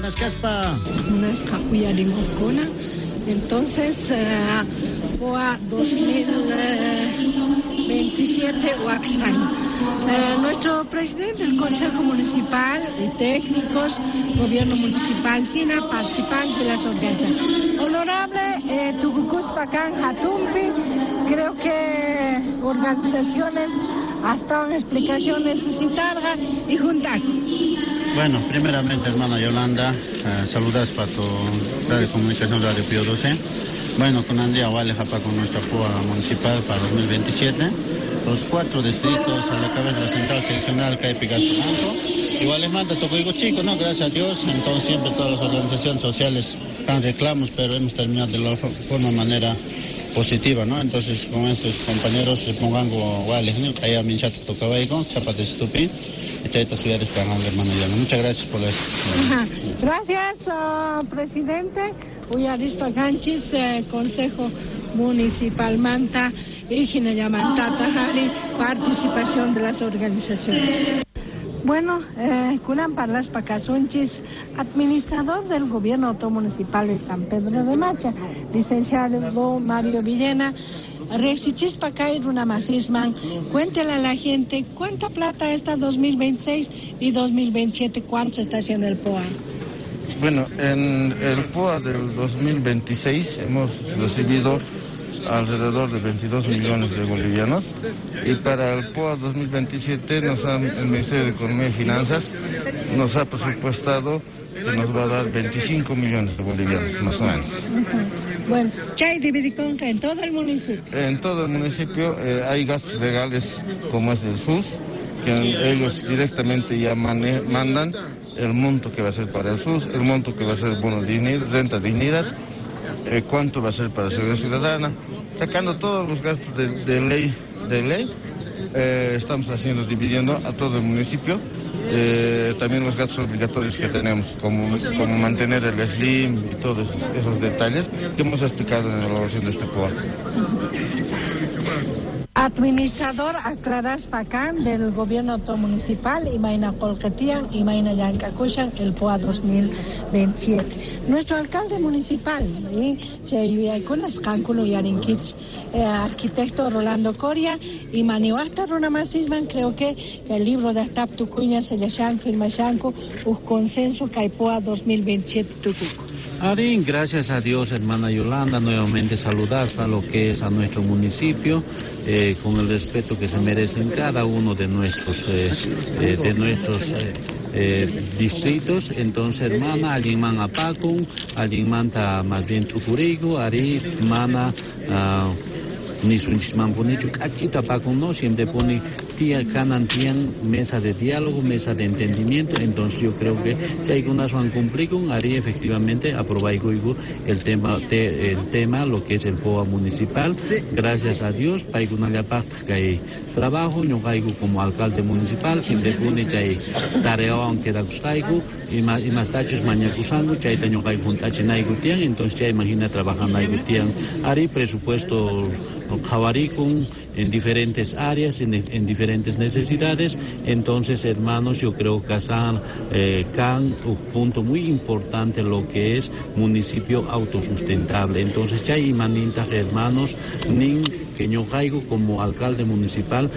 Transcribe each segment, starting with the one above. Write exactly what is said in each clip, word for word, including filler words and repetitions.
Rimascaspa. Munasqa uyarimuqkuna. Entonces, uh, P O A dos mil veintisiete Huaxán. Eh, nuestro presidente del Consejo Municipal y técnicos, gobierno municipal, sina participantes de las organizaciones. Honorable eh, tukukuspa kan hatunpi, creo que organizaciones hasta una explicación necesitarga y juntar. Bueno, primeramente, hermana Yolanda, eh, saludas para tu radio comunicación Radio Pío doce. Bueno, con día vale con nuestra P O A municipal para dos mil veintisiete. Los cuatro distritos a la cabeza de la central seccional kaypi Banco. Igual les manda digo chico, ¿no? Gracias a Dios. Entonces siempre todas las organizaciones sociales dan reclamos, pero hemos terminado de la forma manera positiva, ¿no? Entonces con estos compañeros se pongan iguales, ¿no? Kaya minchata tocabaico, chapate estupi. Hermano. Muchas gracias por eso. Gracias, uh, presidente. Uyarispa kanchis, eh, Consejo Municipal manta y Tajari, participación de las organizaciones. Bueno, eh, kunan parlaspa kasunchis, administrador del Gobierno Autónomo Municipal de San Pedro de Macha, licenciado Mario Villena. Rejsichispa kay runa masisman, cuéntele a la gente cuánta plata está dos mil veintiséis y dos mil veintisiete, cuánto se está haciendo el P O A. Bueno, en el P O A del dos mil veintiséis hemos recibido alrededor de veintidós millones de bolivianos y para el P O A dos mil veintisiete nos han, el Ministerio de Economía y Finanzas nos ha presupuestado que nos va a dar veinticinco millones de bolivianos, más o menos. Bueno, chay dividiconca en todo el municipio. En todo el municipio eh, hay gastos legales como es el S U S, que ellos directamente ya mandan el monto que va a ser para el S U S, el monto que va a ser el bono dignidad, renta dignidad, eh, cuánto va a ser para Seguridad Ciudadana, sacando todos los gastos de, ley, de ley, eh, estamos haciendo, dividiendo a todo el municipio, eh, también los gastos obligatorios que tenemos, como, como mantener el SLIM y todos esos detalles que hemos explicado en la elaboración de este P O A. Administrador aclaraspa kan del gobierno municipal imayna qolqe tiyan, imayna llank'akushan el P O A dos mil veintisiete. Nuestro alcalde municipal, chay yuyaykunas qankuna uyarinkichis, eh, arquitecto Rolando Coria, y maniwaqta runamasisman, creo que el libro de Atap tukuña sellashanku firmashanku uj consenso kay P O A dos mil veintisiete tukuku. Arín, gracias a Dios, hermana Yolanda, nuevamente saludar a lo que es a nuestro municipio, eh, con el respeto que se merecen cada uno de nuestros, eh, eh, de nuestros distritos. Entonces, hermana, allinman apakun, allinmanta más bien tukurigo, arí, mana, uh, nisunchismanpunichu k'achita apakun, no siempre pone tía kanan tiyan mesa de diálogo, mesa de entendimiento. Entonces yo creo que chaykunaswan cumplikun, arí, efectivamente aprobaykuyku el tema te, el tema lo que es el P O A municipal. Gracias a Dios, paykunallapaqtaq kay trabajo. Ñuqayku como alcalde municipal siempre puni chay tareawan quedakusqayku, ima imastachus mañakusanku chayta ñuqayku hunt'achinayku tiyan. Entonces chayman hina trabajanayku tiyan. Arí, presupuesto qhawarikun en diferentes áreas, en, en diferentes necesidades. Entonces, hermanos, yo creo que san, eh, kan un punto muy importante lo que es municipio autosustentable. Entonces, chay imanintaq, hermanos, nin que ñuqayku como alcalde municipal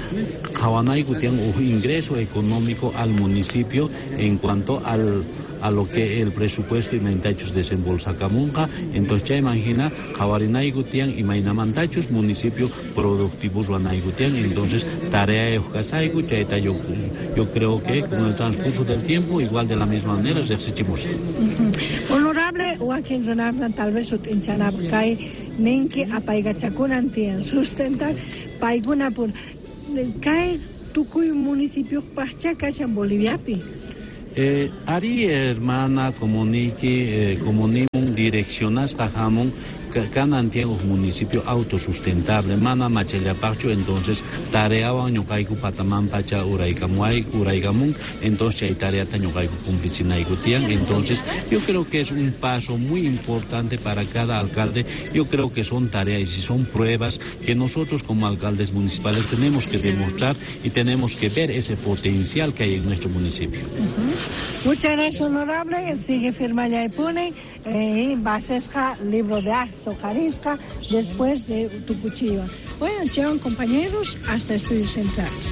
qhawanayku tiyan un ingreso económico al municipio en cuanto al a lo que el presupuesto imaynatachus desembolsakamunqa. Entonces chayman hina qhawarinayku tiyan imaynamantachus municipio productivo ruwanayku tiyan. Entonces tarea kasayku chayta. Yo, yo creo que con el transcurso del tiempo igual de la misma manera riqsichimus. Honorable, wakin runakuna tal vez sut'inchanapaq kay ninki apaykachakunan tiyan sustentar paykuna por kay tukuy municipiopaqcha kashan Boliviapi. Eh, arí, hermana, comunique, eh, comunimun direccionasqa hamun. Kanan tiyan uj municipio autosustentable, mana machallapaqchu, entonces tareawan ñuqayku pataman pacha uraykamuay uraykamun, entonces chay tareata ñuqayku cumplichinayku tiyan. Entonces yo creo que es un paso muy importante para cada alcalde. Yo creo que son tareas y son pruebas que nosotros como alcaldes municipales tenemos que demostrar y tenemos que ver ese potencial que hay en nuestro municipio. Uh-huh. Muchas gracias, honorable. Sigue firma Pune eh, basesca libro de actos después de Tucuchiva. Bueno, llevan compañeros hasta estudios centrales.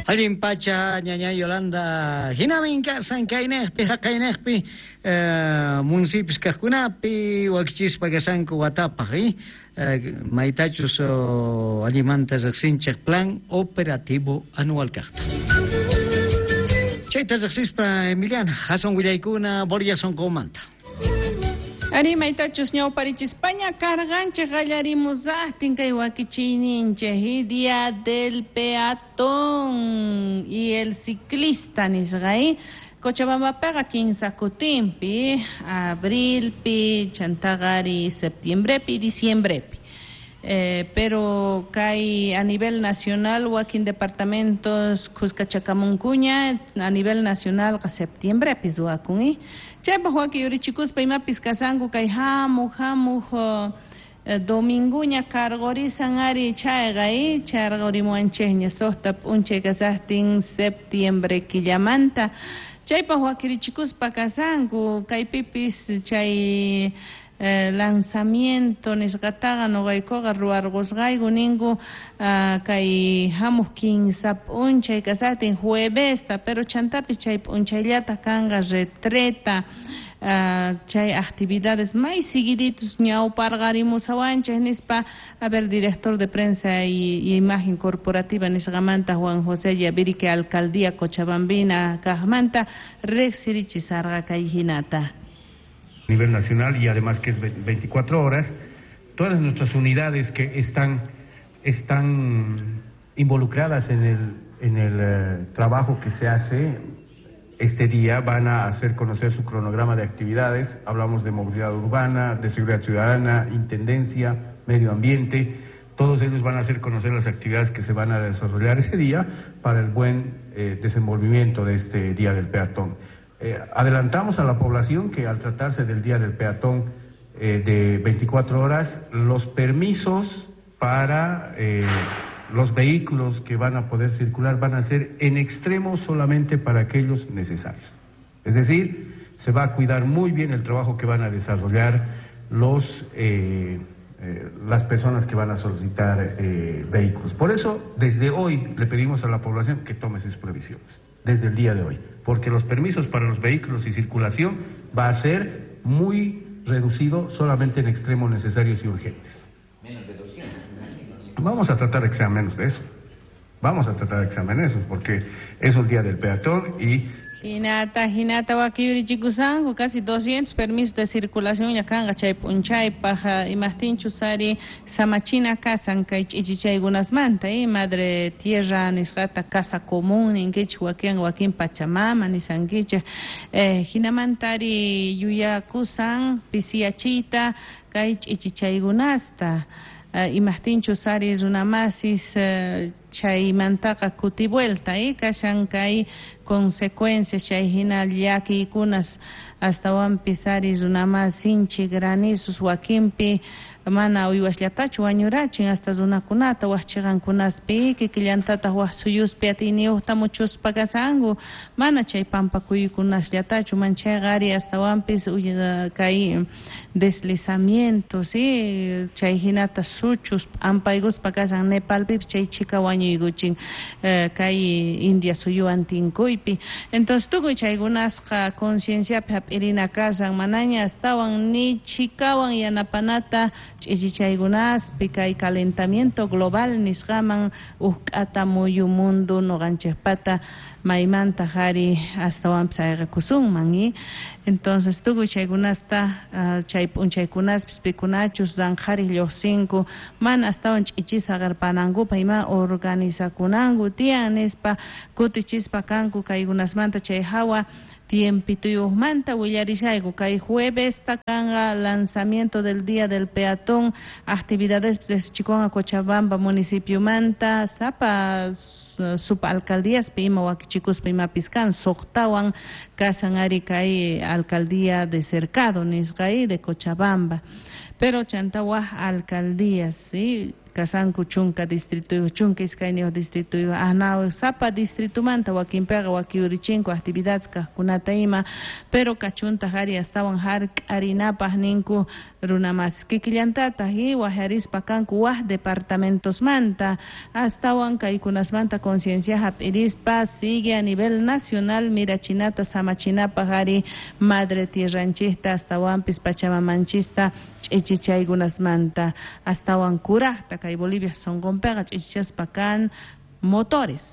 Allin pacha ñaña Yolanda hinamin kasan kaynejpi haqaynejpi eh, municipios kajkunapi wakichispa kasanku watapaj eh? eh, maytachus oh, allimanta riqsinchej plan operativo anual kajta. Chayta riqsispa Emiliana hasan willaykuna Borja sonqomanta. Ari maytachus ñawparichispaña karqanchej qallarimusaqtin kay wakichiyninchej Día del Peatón y el Ciclista nisqa Cochabambapiqa kinsa kutinpi, abrilpi, chantaqari septiembrepi, diciembrepi. Eh, pero kay a nivel nacional wakin departamentos Cuscachacamuncuña a nivel nacional ka septiembrepi ruwakun eh. Chaypaq waki yurichikuspa imapis kasanku kay hamuq hamuq eh, dominguña karqurisan ari chayqa eh, charqurimuwanchikña suqta p'unchay kasaqtin septiembre killamanta. Chaypaq wakirichikuspa kasanku kaypipis chay Eh, lanzamiento nisqataqa nuqaykuqa ruwarqusqayku ninku uh, kay hamuq kinsa p'unchay kasaqtin juevesta, pero chantapis chay p'unchayllata kanqa retreta uh, chay actividades may seguiditos ñawparqarimusawanchik nispa. A ver, director de prensa y, y imagen corporativa nisqamanta Juan José Yavirique alcaldía Cochabambina kaqmanta riqsirichisarqa kay hinata. A nivel nacional y además que es veinticuatro horas, todas nuestras unidades que están, están involucradas en el, en el eh, trabajo que se hace este día van a hacer conocer su cronograma de actividades. Hablamos de movilidad urbana, de seguridad ciudadana, intendencia, medio ambiente. Todos ellos van a hacer conocer las actividades que se van a desarrollar ese día para el buen eh, desenvolvimiento de este Día del Peatón. Eh, adelantamos a la población que al tratarse del Día del Peatón eh, de veinticuatro horas, los permisos para eh, los vehículos que van a poder circular van a ser en extremo solamente para aquellos necesarios. Es decir, se va a cuidar muy bien el trabajo que van a desarrollar los, eh, eh, las personas que van a solicitar eh, vehículos. Por eso, desde hoy le pedimos a la población que tome sus previsiones, desde el día de hoy, porque los permisos para los vehículos y circulación va a ser muy reducido solamente en extremos necesarios y urgentes. Menos de doscientos. Vamos a tratar de que sea menos de eso. Vamos a tratar de que sea menos de eso, porque es un día del peatón y... Hinata, hinata wakiyurichikusanku casi doscientos permisos de circulación ya kanqa chay p'unchaypaq imaqtinchus ari samachina kasan kay ch'ichichaykunasmanta eh, madre tierra nisqata casa común ninkichik wakin wakin pachamama nisankichik eh, hinamanta ari yuyakusan pisiyachiyta kay ch'ichichaykunasta Uh, imaqtinchus ari runamasis uh, chaymantaqa kutivuelta eh, kashan kay consecuencias chay hina llakiykunas astawanpis ari runamasinchik granizos wakinpi mana uywasllatachu wañurachin hasta runakunata waj chiqankunaspi kikillantataq waj suyuspi atiyniyuqta muchuspa kasanku mana chay pampakuykunasllatachu manchayqa ari astawanpis kay deslizamientos eh, chay hinata suchus p'ampaykuspa kasan Nepalpipis chay chika wañuykuchin eh, kay India suyuwan tinkuypi. Entonces tukuy chaykunasqa concienciapi hap'irina kasan manaña astawan ni chikawan yanapanata ch'ichichaykunaspi kay calentamiento global nisqaman uqk'ata muyu mundo nuqanchikpata maymanta ari astawanpis ayqakusunman eh? Entonces tukuy chaykunasta uh, chay p'unchaykunaspis pikunachus ranqhariq lluqsinku mana astawan ch'ichisa qirpanankupaq ima organizakunanku tiyan nispa kutichispa kanku kaykunasmanta chay hawa Tiempituyuqmanta willarishayku kay jueves takanqa lanzamiento del Día del Peatón, actividades chikonqa Cochabamba municipiomanta sapa subalcaldías ima wakichikuspa imapis kan suqtawan kasan ari kay alcaldía de Cercado nisqa de Cochabamba, pero chanta waj alcaldías, ¿sí? Kasanku chunka distrito, chunka iskayniyuq distrito, ahnaw sapa distritumanta wakinpiqa wakiurichinko actividades kaqkunata ima, pero kachuntaq ari astawan hark'arinapaq ninku runamas kikillantataq y wajarispa kanku waj departamentosmanta astawan kaykunasmanta conciencia hap'irispa sigue a nivel nacional mirachinata samachinapaq ari madre tierranchista astawanpis pachamamanchista ch'ichichaykunasmanta astawan kuraqta kay Bolivia sonqonpiqa ch'ichichaspa kan motores,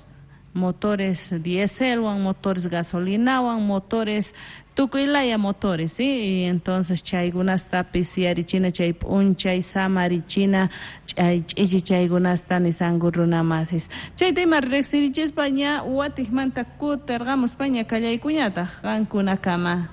motores dieselwan, motores gasolinawan, motores tukuylaya motores, ¿sí? Y entonces chaykunastapis yarichina chay p'unchay samarichina chay ch'ichichaykunasta nisanku runamasis. Chayta ima riqsirichispa ña watiqmanta kutirqamuspa ña kallaykuñataq qankunakama.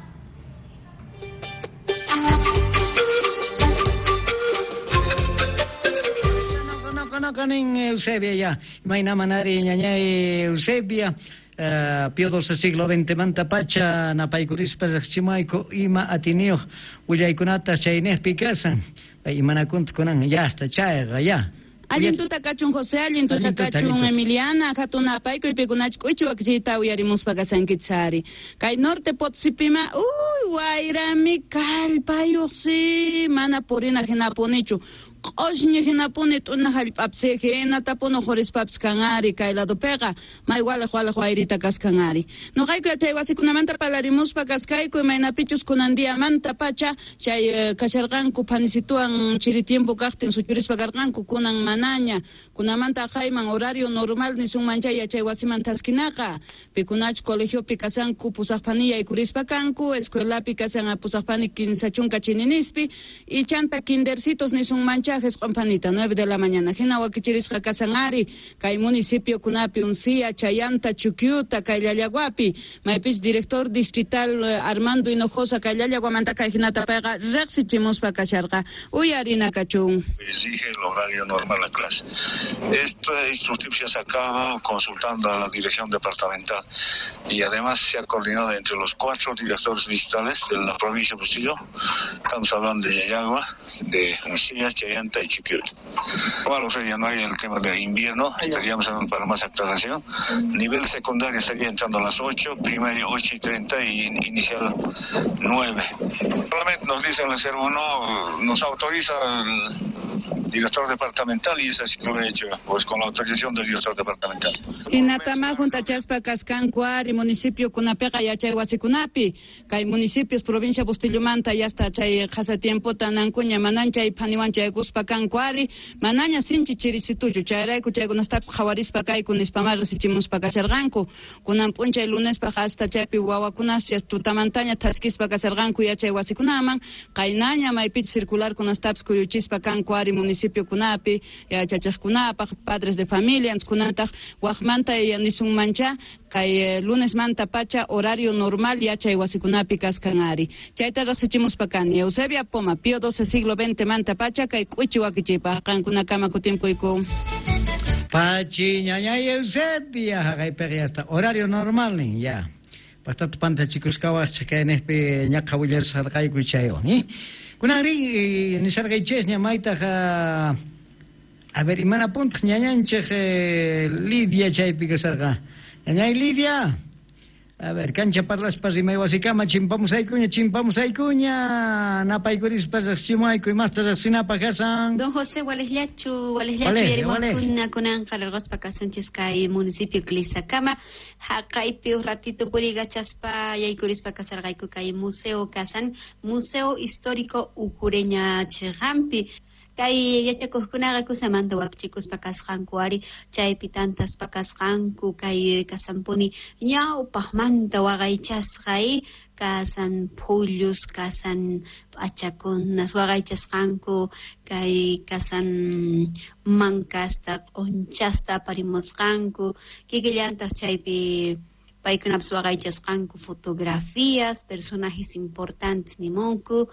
Kanin Eusebia ya, imayna manari ñañay Eusebia, uh, Pío doce siglo veinte manta pacha napaykurispa riqchimayku ima atiniyuq willaykunata chaynejpi kasan, imanakunta kunan ya hasta chayqa ya. Allin tuta kachun José, allin tuta kachun Emiliana, hatuna apaykuy pikunach k'uchu wakichiyta uyarimuspa kasankichari. Kay norte Potosipima, uy, wayrami kallpayuqsi, mana purina hinapunichu. Q'ushñi hinapuni t'una hallp'apsi hinatapuni uqhurispapis kanari kay ladopiqa may waliq waliq wayrita kaskanari. Nuqayku chay wasikunamanta parlarimuspa kaskayku imaynapichus kunan diamanta pacha chay kasharqanku phanisituwan chiri tiempo kaqtin suchurispa karqanku kunan manaña kunamanta aqhayman horario normal nisunman chay yachay wasiman taskinaqa pikunach colegiopi kasanku pusaqpani yaykurispa kanku escuelapi kasan pusaqpani kinsa chunka chininispi y chanta kindercitos nisunman chay Panita, nueve de la mañana. Hina wakichirisqa kasan ari, kay municipio kunapi Uncía, Chayanta, Chuquiuta, kay Llallaguapi, maypis director distrital Armando Hinojosa, kay Llallaguamanta kay hinata payqa riqsichimuspa kasharqa. Uyarina kachun. Exige el horario normal a la clase. Esta instrucción se ha sacado consultando a la dirección departamental y además se ha coordinado entre los cuatro directores distritales de la provincia de Bustillo. Estamos hablando de Llallagua, de Uncía, Chayanta y Chiquiut. Bueno, o sea, ya no hay el tema de invierno, estaríamos hablando para más aclaración. Nivel secundario estaría entrando a las ocho, primaria ocho y treinta y inicial nueve. Solamente nos dicen el cero uno, nos autoriza el director departamental y eso sí lo he hecho, pues con la autorización del director departamental. Hinatama juntachaspa kaskanku ari municipio kunapiqa yachay wasikunapi, kay municipios provincia Bustillomanta ya hasta chay qhasa tiempota nankuña manan chay phaniwan chaykuspa kanku ari, manaña sinchi chirisituchu, chayrayku chaykunastapis qhawarispa kayku nispamá risichimuspa kasharqanku, kunan p'unchay lunespaq hasta chaypi wawakunaspas tutamantaña thaskispa kasharqanku yachay wasikunaman, qaynaña maypichus circular kunastapis kuyuchispa kanku ari municipio kunapi, yachachaqkunapaq, padres de familia, kunantaq waqmanta nisunmancha, kay lunes manta pacha horario normal yachay wasikunapi kaskan ari. Chayta riqsichimuspa kani Eusebia Poma, Pío doce siglo veinte manta pacha kay k'uchi wakichipaq qankunakama kutimpuyku. Pachi ñañay Eusebia, haqaypiqa ya está horario normal nin ya. Pastatu pantachikusqawascha kaynejpi ñaqha willarisqarqayku chaywan, ¿eh? Kunanri nisarqaychis ña maytaq a ver imana puntaq ñañanchik Lidia chaypi kasarqa. Ñañay Lidia, a ver, cancha parlaspa rimay wasikama chimpamusaykuña, chimpamusaykuña, napaykurispa riqsimuayku imasta riqsinapaq kasan. Don José, walejllachu, walejllachu yarimuqkuna kunanqa larquspa kasunchis kay municipio Clisacama, haqaypi uj ratito purigachaspa yaykurispa kasarqayku kay museo kasan, Museo Histórico Ucureña chiqanpi. Kay yachakuqkunaqa kusamanta wakichikuspa kasqanku ari, chaypi tantaspa kasqanku kay kasanpuni ñawpaqmanta waqaychasqa kasan phullus, kasan p'achakunas waqaychasqanku, kay kasan mankasta, q'unchasta aparimusqanku, kikillantaq chaypi Paykunapas waqaychasqanku fotografías, personajes importantes nimunku,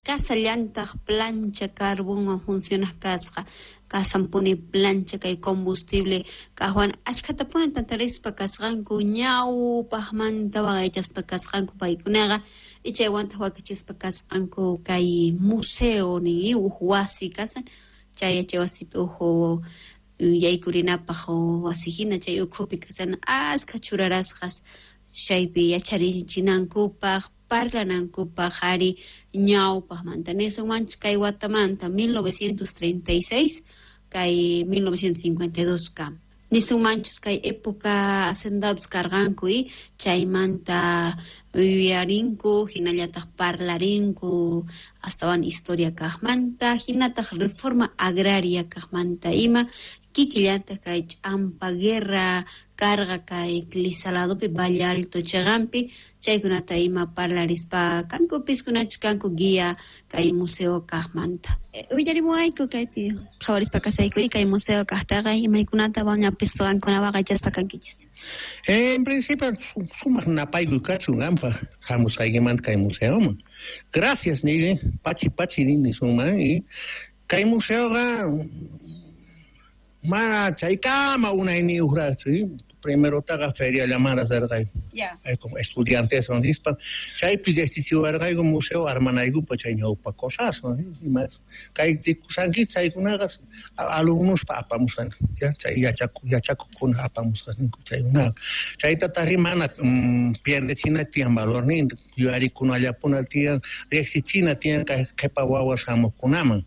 kasallantaq plancha carbonwan funcionaq kasqa, kasanpuni plancha kay combustible kaqwan achkhatapuni tantarispa kasqanku ñawpaqmanta waqaychaspa kasqanku paykunaqa y chaywantaq wakichispa kasqanku kay museo nin uj wasi kasan chay yachay wasipi uj yaykurinapaq wasi hina chay ukhupi kasan askha churarasqas chaypi yacharichinankupaq parlanankupaq ari ñawpaqmanta nisunmanchis kay watamanta mil novecientos treinta y seis kay mil novecientos cincuenta y dos kam nisunmanchus kay época hacendados karqanku y chaymanta yuyarinku hinallataq parlarinku astawan historia kaqmanta hinataq reforma agraria kaqmanta ima kikillantaq kay ch'ampa guerra karqa kay Clisaladopi Valle Alto chaqanpi chaykunata ima parlarispa kankupis kunachus kanku guía kay museo kaqmanta. Willarimuwayku kaypi qhawarispa kasaykuri kay museo kaqtaqa imaykunata wañapis qankuna waqaychaspa kankichis. En principio sumaq napaykuy kachun qanpaq hamusqaykimanta kay museoman. Gracias nini, pachi pachi nini sunman y kay museoqa mana chaykama unayniyuqraqchu primero taqa feria llamara sarqayku. Como estudiantes nispa chaypi riqsichiwarqayku museo armanaykupa chay ñawpa cosaswan imas kay rikushanki chaykunaqa alumnospa apamusqanku ya chay yachaku yachakukuna apamusqanku chaykunaqa chaytataqri mana pierdechina tiyan valornin yuyarikunallapuna tiyan riqsichina tiyan kay qhipa wawas hamuqkunaman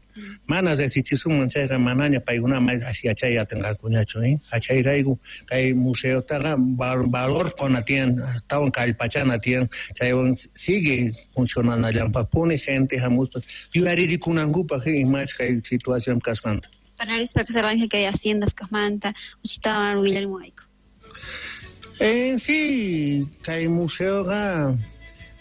mana riqsichisunman chayqa manaña paykuna may yachay atinqakuñachu achayrayku kay museotaqa valor quna tiyan astawan kallpachana tiyan chaywan sigue funcionanallanpaqpuni gente hamuspa yuyarikunankupaq imach kay situación kasqanta. Parlarispa kasarqanki kay haciendas kaqmanta uchitawan willarimuwayku. En sí kay museoqa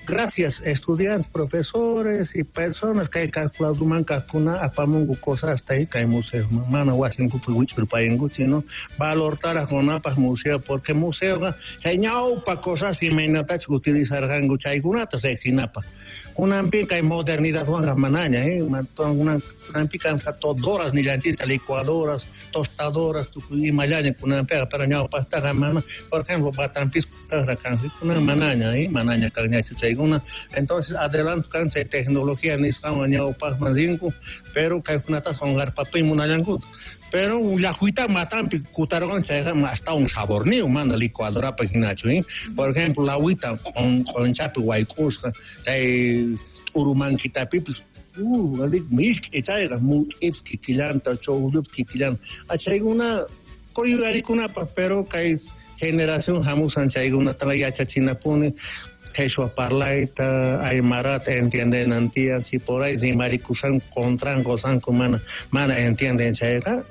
gracias estudiantes, profesores y personas que calculaduman kaqkuna apamunku cosas hasta ahí kay museo mana wasinkupi wich'urpayanku sino valortaraq kunapaq museo porque museoqa chay ñawpa cosas imaynatachus utilizarqanku chaykunata riqsinapaq kunanpi kay modernidadwanqa manaña eh kunanpi kanqa todoras nillanchista licuadoras tostadoras tukuy imallaña kunanpiqa pero ñawpaqtaqa mana por ejemplo batanpis taqra kanqa kunan manaña eh manaña kanñachu chay. Entonces adelanto kan chay tecnología nisqanwan ñawpaqman rinku pero kaykunata qunqarpapi munallankuta pero llaqwita matanpi kutarqan chayqa astawan saborniyuq mana licuadorapa hinachu eh por ejemplo lawita q'unchapi wayk'usqa chay t'urumankitapipis uh misk'i chayqa mut'ipis kikillanta ch'uqllupis kikillanta achaykuna quyuyarikunapaq pero kay generación hamusan chaykunataqa yachachinapuni quechua parlayta aymarata entiendenan tiyan si por ahí rimarikusan contranku sanku mana mana entienden chayqa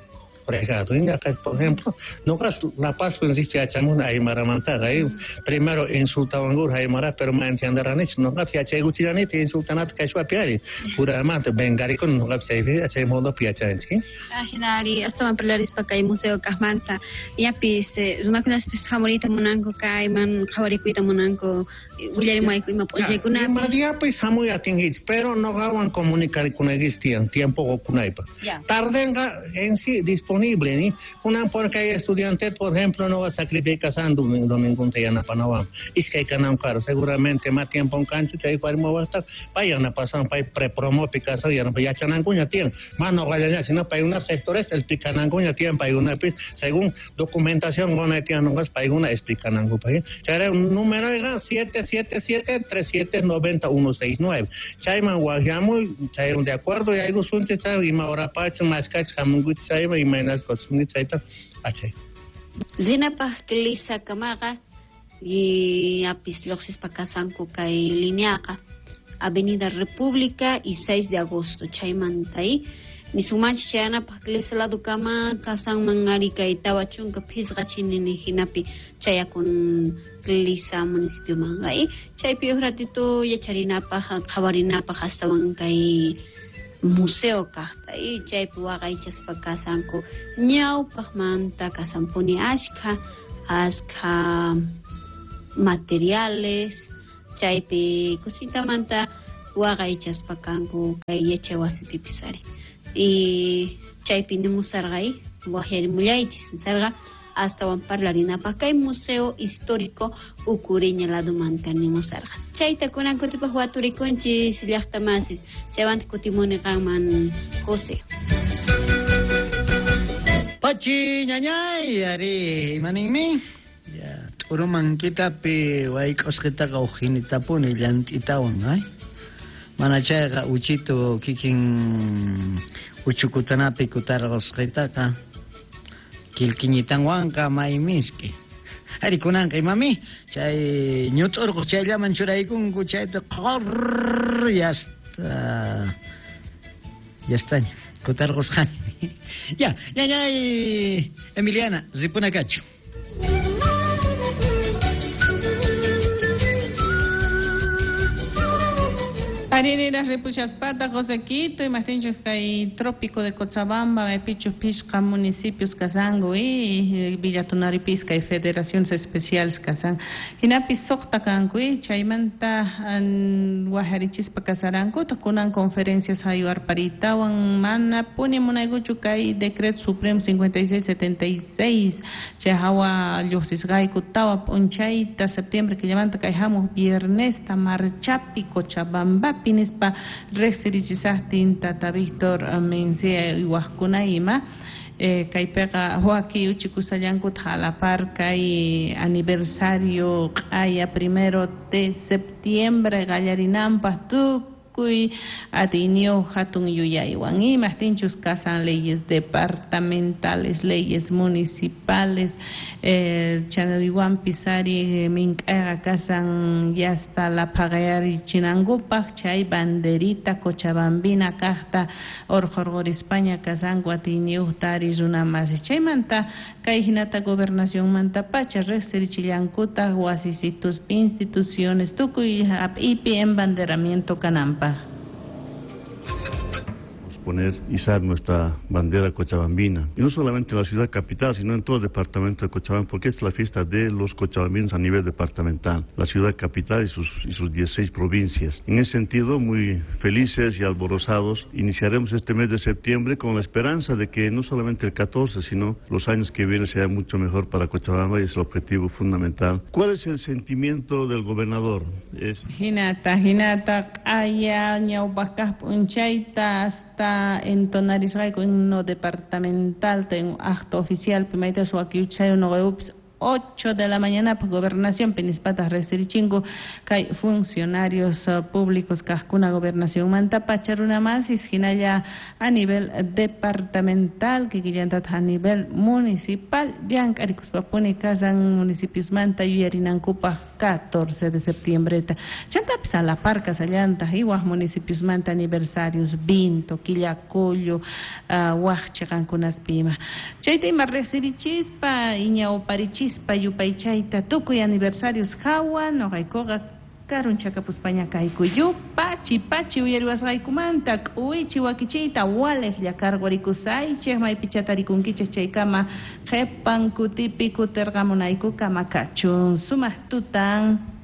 fregado. Por ejemplo, noqa La Paz yachamuni aymaramantaqa primero insultawankur aymara pero ma entienderanichu noqapis yachaykuchillanita insultanata quechuapi ari puramanta vengarikuni noqapis chaypi chay modopi yachanchik. Ajinari astawan parlarispa kay museo kaqmanta yapis runakunaspis hamuriyta munanku kayman qhawarikuyta munanku willarimuwayku ima p'unchaykunapi. Ima diapis hamuy atinkichik pero noqawan comunicarkunaykichik tiyan tiempo qukunaypaq. Tardenqa en sí disponible ni kunan porque hay estudiantes por ejemplo no sacrificasando domingo yanapanawan iskay kanankara seguramente más tiempo kanchu chay warmi wasta pay yanapasan pay prepromopi kasan yanapa yachanankuña tiyan mana noqallaña sino paykuna sectores explicanankuña tiyan paykunapis según documentación qunay tiyan noqas paykuna explicanankupaq chayra numeroyqa siete siete siete tres siete noventa uno seis nueve chayman waqyamuy chay de acuerdo yaykusunchik chay ima horapacha maskach hamunkuchik chayman imaynas kosunki chayta achay. Rinapaq Clisakamaqa y apis lluqsispa kasanku kay lineaqa Avenida República y seis de agosto chaymanta y nisumanchik chayanapaq Clisa ladukama kasanman ari kay tawa chunka phisqa chinini hinapi chayakun Clisa municipiomanqa y chaypi uj ratito yacharinapaq qhawarinapaq astawan kay museo kaqta y chaypi waqaychaspa kasanku ñawpaqmanta kasanpuni ashkha ashkha materiales chaypi kusitamanta waqaychaspa kanku kay yachay wasipipis ari y chaypi nimusarqay waqyarimullaychis nisarqa astawan parlarinapaq kay museo histórico Ucureña ladumanta nimusarqa chayta kunan kutipaq waturikunchis llaqtamasis chaywanta kutimuni qanman José. Pachi ñañay ari imaninmi ya t'uruman kitapi wayk'usqitaqa uqhinitapuni llant'itawan ay mana chayqa uchitu kikin uchukutanapi kutarqusqitaqa kilkiñitanwanqa may miski ari kunanqa imami chay ñut'urqu chayllaman churaykunku chayta qor yasta yastaña kutarqusqani ya ñañay Emiliana ripuna kachu. Arinera ripuchaspata José Quito y Martín kay trópico de Cochabamba, Pichu Pisca, municipios Kazango y Villa Tunari Pisca y federaciones especiales Kazan. Hinapi soqta kanku y chaymanta wajarichispa kasaranku kunan conferencias hayuarparitawan mana puni munaykuchu kay decreto supremo cincuenta y seis setenta y seis chay hawa lluqsisqayku tawa p'unchayta septiembre killamanta kay hamuq viernesta marchapi Cochabamba pinispa riqsirichisaqtin tata Víctor Mencía waqkuna ima eh, kaypiqa waki uchikusqallankuta halapar kay aniversario q'aya primero de septiembre qallarinanpaq tukuy atiyniyuq hatun yuyaywan imaqtinchus kasan leyes departamentales, leyes municipales eh, chanaywanpis ari mink'ayqa kasan yasta laphaqayarichinankupaq chay banderita cochabambina kaqta urqurqurispaña kasanku atiyniyuqta ari runamasis chaymanta kay hinata gobernacionmantapacha riqsirichillankutaq wasisituspi instituciones tukuy hap'ipi embanderamiento kananpaq. Poner, izar nuestra bandera cochabambina, y no solamente en la ciudad capital, sino en todo el departamento de Cochabamba, porque es la fiesta de los cochabambinos a nivel departamental, la ciudad capital y sus, y sus dieciséis provincias. En ese sentido, muy felices y alborozados, iniciaremos este mes de septiembre con la esperanza de que no solamente el catorce, sino los años que vienen sea mucho mejor para Cochabamba, y es el objetivo fundamental. ¿Cuál es el sentimiento del gobernador? Es... Hinata, hinata, aya, ñawpaqkaq p'unchayta hasta entonarisqayku himno departamental ten acto oficial pimayta suwakiuchay nuqayupis ocho de la mañana pues gobernación pinispatas riqsirichinku kay funcionarios uh, públicos kaqkuna gobernación mantapacha runamasis hinalla a nivel departamental kikillantataq a nivel municipal llank'arikuspapuni kasan municipiosmanta yuyarinankupaq catorce de septiembre chantapis alapar kasallantaq y waq municipiosmanta aniversarios Vinto, Quillacollo, uh, waq chiqankunapi ima chayta ima riqsirichispa iñawparichispa yupaychayta tukuy aniversarios hawa nuqaykuqa karunchakapuspaña kayku yupachi pachi uyariwasqaykumanta k'uwichi wakichiyta waliqlla karqurikusaychik maypicha tarikunkichik chaykama qhipan kutipi kutirqamunaykukama kachun sumaq tutan.